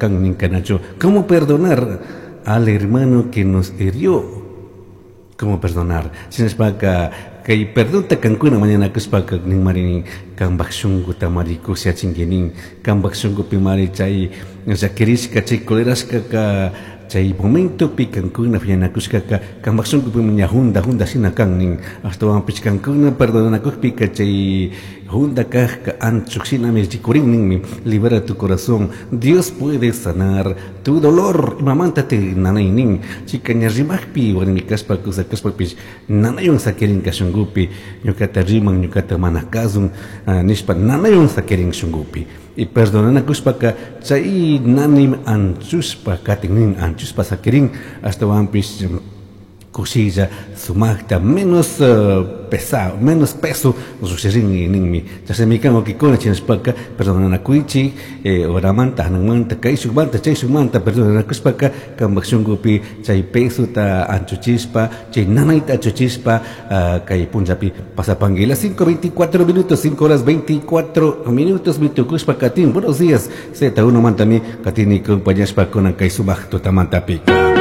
Can nincanachu. ¿Cómo perdonar al hermano que nos hirió? ¿Cómo perdonar? Shinashpaka kay perdonta kankuna mañanakushpaka ninmari nin kambaj shunkuta mari kushiyachinki nin kambaj shunkupi mari chay llakirishka chay colerashkaka chay momentopi kankuna phiñanakushkaka kambaj shunkupi ña junda junda shina kan nin ashtawanpish kankuna perdonanakukpika chay junda kajka anchuk shinami rikurin ninmi. Libera tu corazón, Dios puede sanar tu dolor. Imamanta te nanay nin chika ña rimajpi warmi kashpa kusa kashpapish nanaywan sakirinka shunkupi ñukata riman ñukata mana kasun nishpa nanaywan sakirin shunkupi y perdonanakushpaka chay nanay anchushpa katin nin anchushpa sakirin ashtawanpish kushilla sumaqta menos pesado menos peso llukshirin ninmi. Chashnami kan wawkikuna chinashpaka perdonanakuychik horamanta hananmanta kayshukmanta chayshukmanta perdonanakushpaka kambak shunkupi chay pesota anchuchishpa chay nanayta anchuchishpa kay punllapi pasapanki. Las 5:24 minutos, 5 horas 24 minutos mi tukushpa katin. Buenos días Z1 mantami katini compañashpa kunan kay sumaq tutamantapika.